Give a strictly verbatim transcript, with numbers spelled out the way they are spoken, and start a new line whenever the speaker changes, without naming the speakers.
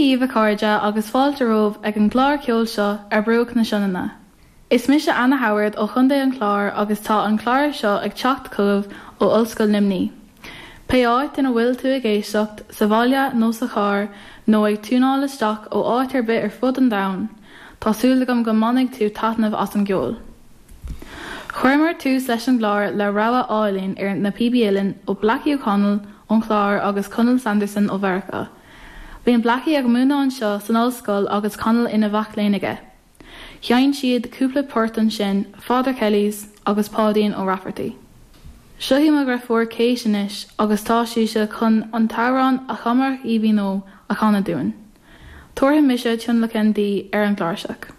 Dia daoibh a chairde agus fáilte romhaibh ag an gclár ceoil seo ar Bruach na Sionainne. Is mise Anna Howard ó Chontae an Chláir agus tá an clár seo ag teacht chugaibh ó Ollscoil Luimnigh. Pé áit ina bhfuil tú ag éisteacht sa bhaile nó sa charr nó ag tiúnáil isteach ó áit ar bith ar fud an domhain, Tá súil agam go mbainfidh tú taitneamh as an gceol. Chuireamar tús leis an gclár le rogha álainn ar na Píobaí Uilleann ó Blackie O'Connell ón Chlár agus Conall Sanderson ó Mheiriceá. Bíonn Blackie ag múineadh anseo san ollscoil agus Conall ina mhac léinn aige. Sheinn siad cúpla port ansin, Father Kelly's agus Páidín Ó Rafferty. Seo í mo dheirfiúr Kate anois agus tá sise chun an t-amhrán A Chamarach Aoibhinn Ó a chanadh dúinn. Tabharfaidh mise tionlacan di ar an gcláirseach.